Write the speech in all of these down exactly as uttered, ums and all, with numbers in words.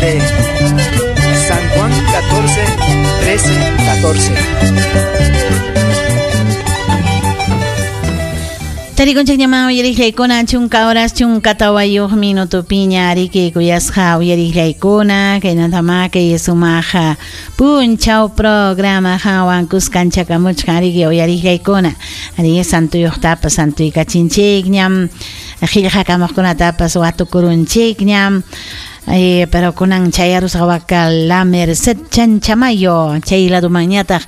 Cantaré. San Juan catorce, trece, catorce. Tarikunchikñaman uyariqllaykuna chunka horas chunka tawayuq minuto piña ariki kuyasqa uyariqllaykuna kaynatama kay sumaqa punchaw programa hawan kuskanchakamuchkan ariki uyariqllaykuna ari santuyuqtapas santuykachinchikñam qillqakamuqkunatapas watukurunchikñam. Eh, pero kunan chayarusqa waka La Merced Chanchamayo chay ladumanñataq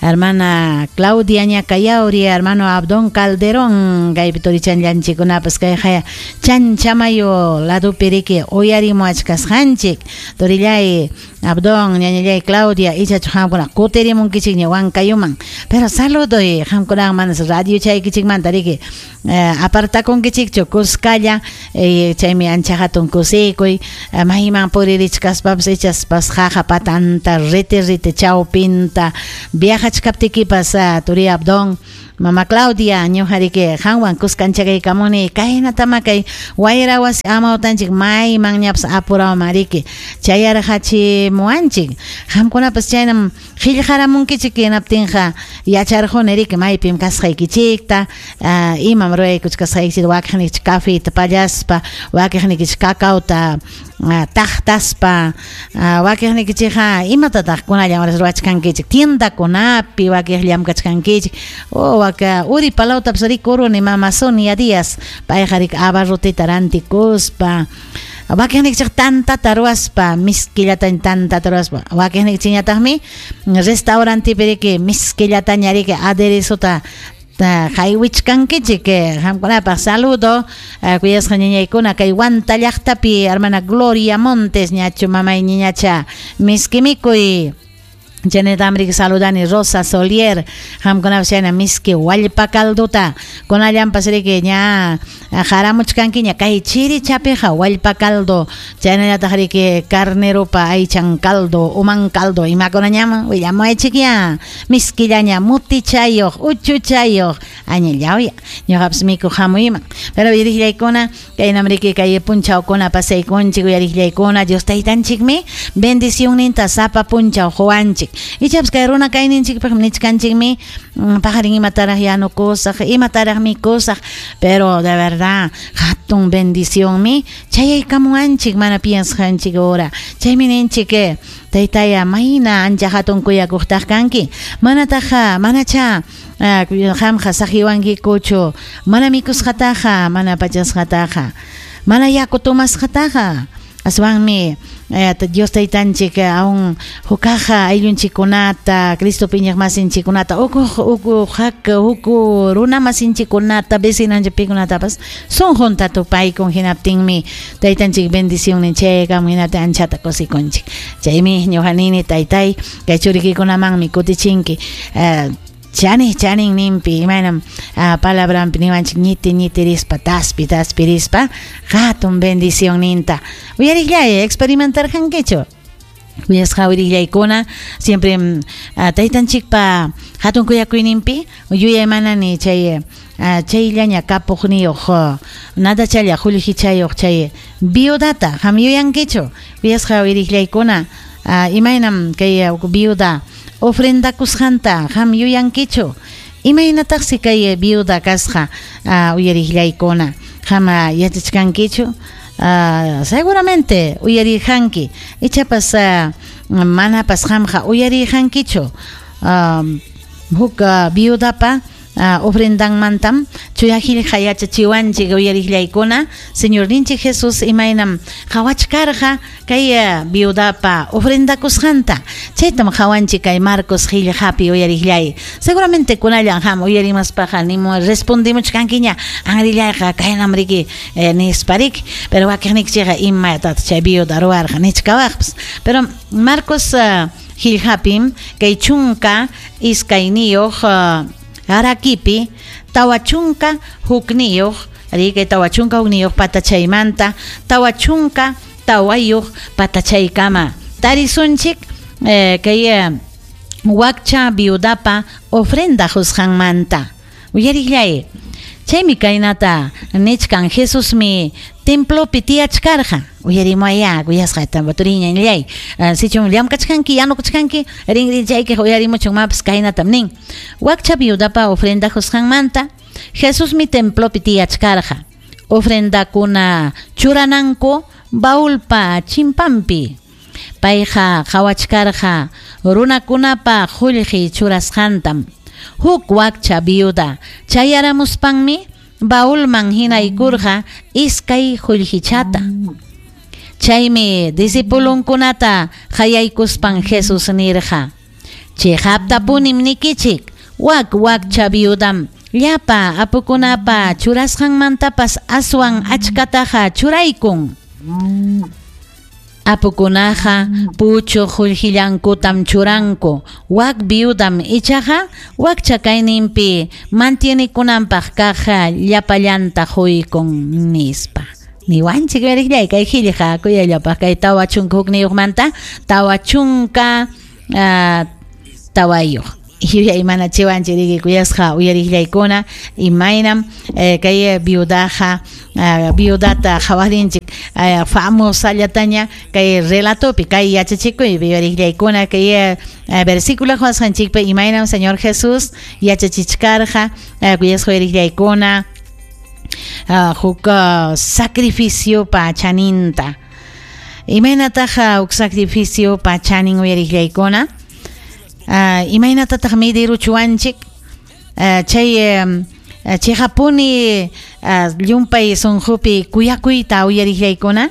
hermana Claudia Ñacayauri hermano Abdón Calderón kaypi turichanllanchikkunapas kayqa Chanchamayo ladupi riki uyarimuachkasqanchik turillay Abdón ñañallay Claudia ichachu qamkuna kutirimunkichikña Huancayuman pero saludoy qamkunaqa manas radio chaykichikmanta riki eh, apartakunkichikchu kuskalla eh, chaymi ancha hatun kusikuy eh, mayman puririchkaspapas ichaspas qaqa patanta riti riti chawpinta viajachkaptikipas uh, turi Abdón Mama Claudia ñuqa qanwan kuskanchakaykamuni kaynatama kay wayra wasi amawtanchik mayman ñapas apurawman riki chayarqachimuwanchik qamkunapas chaynam qillqaramunkichik hinaptinqa yacharquni riki maypim kasqaykichikta uh, imam ruraykuchkasqaykichik wakiqnikichik cafeta pallaspa wakiqnikichik cacaota uh, taqtaspa uh, wakiqnikichikqa imatataq kunallan ruwachkankichik tiendakunapi wakiq llamkachkankichik o waka uri palawtapas rikuruni mama Sonia Díaz payqa riki abarrotita rantikuspa wakiqnikichik tantata ruwaspa miskillataña tantata ruwaspa wakiqnikichikñataqmi restaurantepi riki miskillataña riki aderezota haywichkankichik qamkunapaq saludo kuyasqa ñañaykuna kay Huanta llaqtapi hermana Gloria Montes ñachu mamay ñañacha miski mikuy Chaynata riki saludani Rosa Solier qamkunapas chayna miski wallpa calduta kunallanpas riki ña haramuchkankiña kay chirichapiqa wallpa caldo chaynallataq riki carneropa aychan caldo uman caldo imakunañaman willamuaychikya miskillaña mutichayuq uchuchayuq añallawya ñuqapas mikuq hamuyman pero uyariqllaykuna kaynam riki kay punchawkuna pasaykunchik uyariqllaykuna Dios taytanchikmi bendicionninta sapa punchaw quwanchik ichapas kay runa kayninchikpaq nichkanchikmi paqarin imataraq yanukusaq imataraq mikusaq pero de verdad hatun bendicionmi chayaykamuwanchik mana piensqanchik hora chaymi ninchik taytaya mayna ancha hatun kuyakuqtaq kanki manataqa manacha qamqa saqiwankikuchu mana mikusqataqa mana pachasqataqa mana yaku tomasqataqa aswanmi eh, Dios taytanchik aún hukaqa ayllunchikkunata Cristo piñaqmasinchikkunata uku uku hak uku runa masinchikkunata vecinanchikkunatapas sunqunta tupaykun hinaptinmi taytanchik bendicionnin chaykamun hinaptin anchata kusikunchik chaymi ñuqa nini taytay kay churikikunamanmi kutichinki eh, chani chanin nimpi imaynam uh, palabrampi niwanchik ñiti ñitirispa taspi taspirispa hatun bendición ninta uyariqllay experimentarqankichu kuyasqa uyariqllaykuna siempre uh, taytanchikpa hatun kuyakuyninpi yuyaymanani chay uh, chayllaña kapuqniyuq uh, nadachalla qullqichayuq chay viudata qam yuyankichu kuyasqa uyariqllaykuna uh, imaynam kay uh, viuda ofrendakusqanta qam yuyankichu imaynataqsi kay viuda kasqa uh, uyariqllaykuna qam yachachkankichu uh, seguramente uyariqanki ichapas uh, manapas qamqa uyariqankichu um, huk uh, viudapa Uh, ofrendanmantam chuya qillqa yachachiwanchik uyariqllaykuna Señorninchik Jesus imaynam qhawachkarqa kay uh, viudapa ofrendakusqanta chaytam qhawanchik kay Marcos qillqapi uyariqllay seguramente kunallan ham uyarimaspaqa nimu respondimuchkankiña anrillayqa kaynam riki eh, nispa riki pero wakiqnikichikqa imatataq chay viuda ruwarqa nichkawaqpas pero Marcos uh, qillqapim kay chunka iskayniyuq uh, Araquipi, tawachunka hukniyuq, riki tawachunka hukniyuq patachaymanta, tawachunka tawayuq patachaykama. Tarisunchik eh, kay eh, wakcha viudapa ofrenda husqanmanta. Uyariqllay, Chaymi kaynata nichkan Jesusmi templopi tiyachkarqa. Uyarimuaya kuyasqa turiñallay. Sichum llamkachkanki yanukuchkanki rinrinchayki uyarimuchun mapas kaynatam nin. Wakcha viudapa ofrenda qusqanmanta Jesusmi templopi tiyachkarqa. Ofrendakuna churananku baulpa chimpampi. Payqa qhawachkarqa runakunapa qullqi churasqantam. Huk wakcha viuda chayaramuspanmi baulman hinaykurqa iskay qullqichata. Chaymi discipulunkunata qayaykuspan Jesús nirqa: Chiqaptapunim nikichik, wak wakcha viudam llapa apukunapa churasqanmantapas aswan achkataqa churaykun. Apukunaqa puchu qullqillankutam churanku, wak viudam ichaqa wakcha kayninpi mantienikunanpaq kaq llapallanta quykun nispa. Niwanchik veriqllay kay qillqa kuyallapaq kay tawa chunka hukniyuqmanta tawa chunka uh, tawayuq. Yuyay manachiwanchik riki kuyasqa uyariqllaykuna imaynam eh, kay viudaqa uh, viudata qhawarinchik uh, famosallataña kay relatopi kay yachachikuy uyariqllaykuna kay uh, versículo qhawasqanchikpi imaynam Señor Jesús yachachichkarqa uh, kuyasqa uyariqllaykuna uh, huk uh, sacrificio pa chaninta. Imaynataqa huk sacrificio pa chanin uyariqllaykuna? Uh, imaynatataq midiruchuwanchik uh, chay um, chiqapuni uh, llumpay sunqupi kuyakuyta uyariqllaykuna.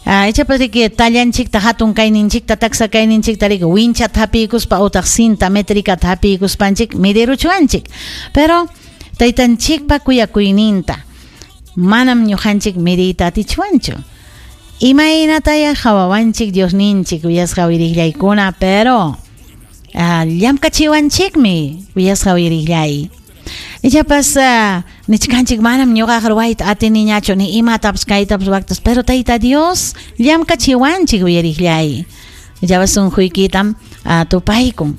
Uh, ichapas riki tallanchikta hatun kayninchikta taksa kayninchikta riki winchata hapiykuspa utaq cinta métricata hapiykuspanchik midiruchuwanchik. Pero taytanchikpa kuyakuyninta manam ñuqanchik midiyta atichwanchu. Imaynataya qhawawanchik Diosninchik kuyasqa uyariqllaykuna, pero Uh, llamkachiwanchikmi kuyasqa uyariqllay. Ichapas uh, nichkanchik manam ñuqaqa ruwayta atiniñachu ni imatapas kaytapas waktas, pero Tayta Dios llamkachiwanchik uyariqllay. Ichapas sunquykitam uh, tupaykun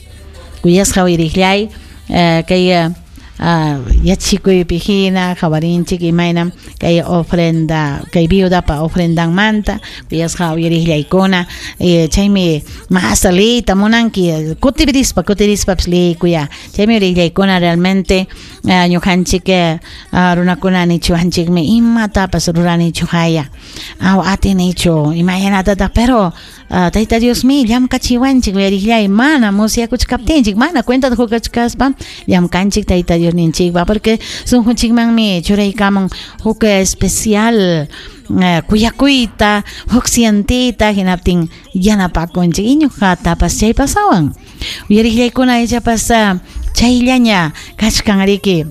kuyasqa uyariqllay. uh, kay uh, uh, yachikuypi hina qhawarinchik imaynam kay ofrenda kay viudapa ofrendanmanta kuyasqa uyariqllaykuna. eh, chaymi mas liyta munanki kutirispa kutirispapas liykuya. Chaymi uyariqllaykuna realmente uh, ñuqanchik uh, runakuna nichiwanchikmi imatapas ruranichu haya aw atinichu imaynatataq, pero uh, Tayta Diosmi llamkachiwanchik uyariqllay. Mana musyakuchkaptinchik mana cuentata qukuchkaspa llamkanchik Tayta Diosninchikpa, porque sunqunchikmanmi churaykamun huk especial uh, kuyakuyta huk sientita hinaptin yanapakunchik iñuqatapas chay pasawan uyariqllaykuna. Ichapas uh, chayllaña kachkan riki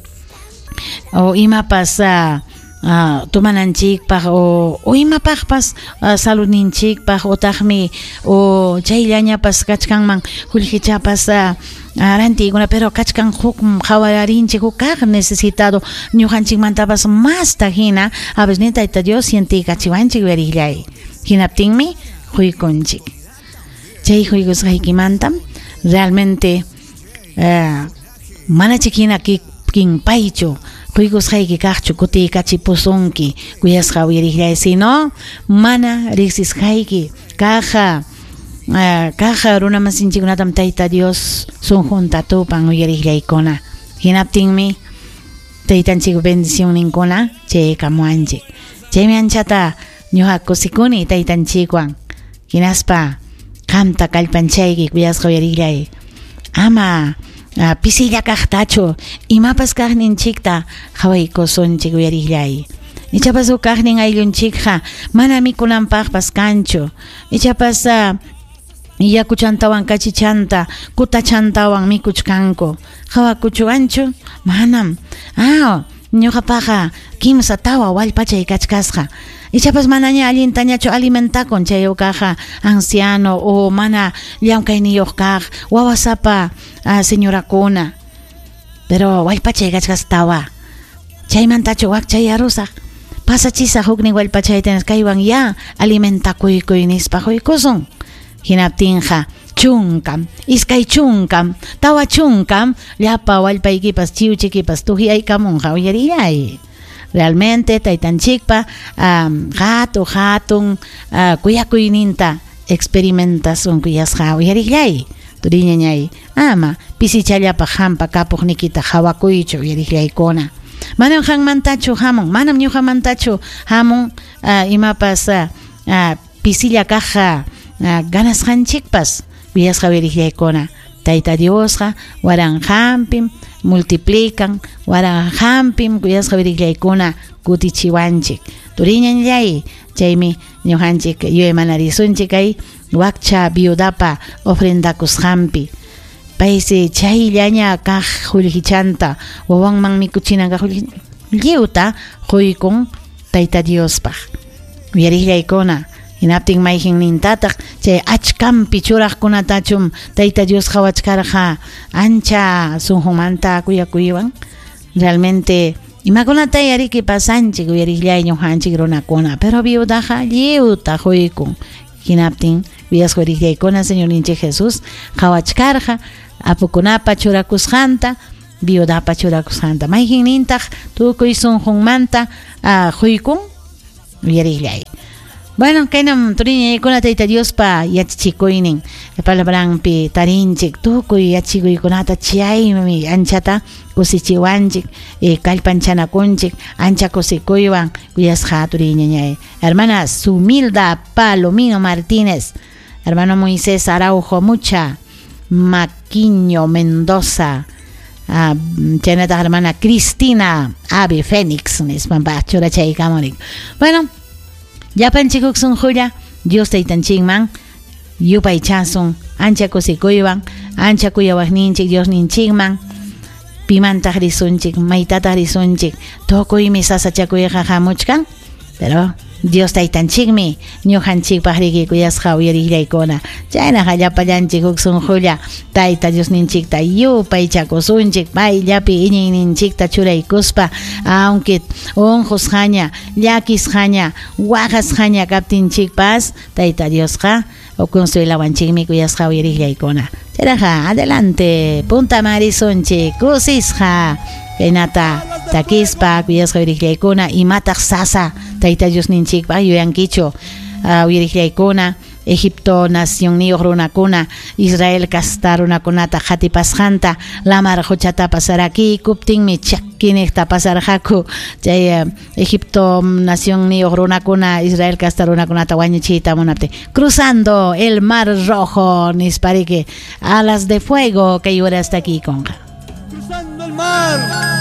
o imapas uh, Uh, tumananchikpaq o, o imapaqpas uh, saludninchikpaq utaqmi o chayllañapas kachkanman qullqichapas uh, rantiykuna, pero kachkan huk qhawarinchik huk kaq necesitado ñuqanchikmantapas masta hina a veces ni Tayta Dios sientiykachiwanchik uyariqllay. Hinaptinmi quykunchik. Chay quykusqaykimantam realmente uh, manachik hina kikinpaychu quykusqayki kaqchu kutiykachipusunki kuyasqa uyariqllay, sino mana riqsisqayki kaqa uh, kaqa runamasinchikkunatam Tayta Dios sunqunta tupan uyariqllaykuna. Hinaptinmi taytanchik bendicionninkuna chaykamuwanchik. Chaymi anchata ñuqa kusikuni taytanchikwan hinaspa qamta kallpanchayki kuyasqa uyariqllay. Ama uh, pisilla kaqtachu imapas kaqninchikta qhawaykusunchik uyariqllay. Ichapas huk kaqnin ayllunchikqa mana mikunanpaqpas kanchu. Ichapas uh, yakuchantawan kachichanta kutachantawan mikuchkanku. Qhawakuchuwanchu? Manam. Ah, ñuqapaqa kimsa tawa wallpachay kachkasqa. Ichapas manaña allintañachu alimentakun chay ukaqa anciano o mana llamkayniyuq kaq wawasapa uh, señorakuna. Pero wallpachay kachkasqa tawa. Chaymantachu wakchayarusaq. Pasachisaq huknin wallpachayta kaywan ya alimentakuykuy nispa quykusun. Hinaptinqa Chunkam, iskay chunkam, tawa chunkam, llapa wallpaykipas chiwchikipas tuqyaykamunqa uyarillay. Realmente taytanchikpa um, hatu hatun uh, kuyakuyninta experimentasun kuyasqa uyarillay. Turiñañay, ama pisichallapaq hampa kapuqnikita hawakuychu uyarillaykuna. Manam qanmantachu hamun, manam ñuqamantachu hamun uh, imapas uh, uh, pisilla kaq uh, ganasqanchikpas kuyasqa uyarillaykuna. Tayta Diosqa waranqanpim multiplican, waranqanpim kuyasqa uyarillaykuna kutichiwanchik. Turiñañay, chaymi ñuqanchik yuyaymanarisunchik kay wakcha viudapa ofrendakusqanpi. Paysi chayllaña kaq qullqichanta wawanman mikuchinan kaq lliwta quykun Tayta Diospaq. Uyarillaykuna, hinaptin mayqinnintataq chay achkampi churaqkunatachum Tayta Dios qhawachkarqa ancha sunqumanta kuyakuywan. Realmente imakunata yariki pasanchik uyarillay ñuqanchik runakuna, pero viudaqa lliwta quykun. Hinaptin kuyasqa uyarillaykuna Señorninchik Jesús qhawachkarqa apukunapa churakusqanta, viudapa churakusqanta. Mayqinnintaq tukuy sunqunmanta quykun uyarillay. Bueno, kaynam turiñaykuna Tayta Diospa yachachikuynin palabranpi tarinchik tukuy yachikuykunata chaymi anchata kusichiwanchik, eh, kallpanchanakunchik ancha kusikuywan kuyasqa turiñañay. Hermana Sumilda Palomino Martínez, hermano Moisés Araujo Mucha, Maquiño Mendoza, ah, chaynataq hermana Cristina Ave Fénix nispanpa churachaykamunik. Bueno, llapanchik sunqulla Dios taytanchikman yupaychasun ancha kusikuywan ancha kuyawaqninchik Diosninchikman pimantaq risunchik maytataq risunchik tukuymi sasachakuyqa hamuchkan, pero Dios taytanchikmi ñuqanchikpaq riki kuyasqa uyarillaykuna. Chaynaqa llapallanchik huk sunqulla Tayta Diosninchikta yupaychakusunchik payllapi iñiyninchikta churaykuspa, aunque unqusqaña llakisqaña waqasqaña kaptinchikpas Tayta Diosqa consuelawanchikmi kuyasqa uyarillaykuna. Chaynaqa adelante punta marisunchik kusisqa kaynata takispa kuyasqa uyarillaykuna imataq sasa Tayta Diosninchikpaq yuyankichu uh, uyarillaykuna Egipto nacionniyuq runakuna Israel kasta runakunata qatipasqanta lamar quchata pasarakiykuptinmi chakiniqta pasarqaku chay uh, Egipto nacionniyuq runakuna Israel kasta runakunata wañuchiyta munaptin cruzando el mar rojo nispariki alas de fuego kay hora hasta aquí conqa. Cruzando el mar.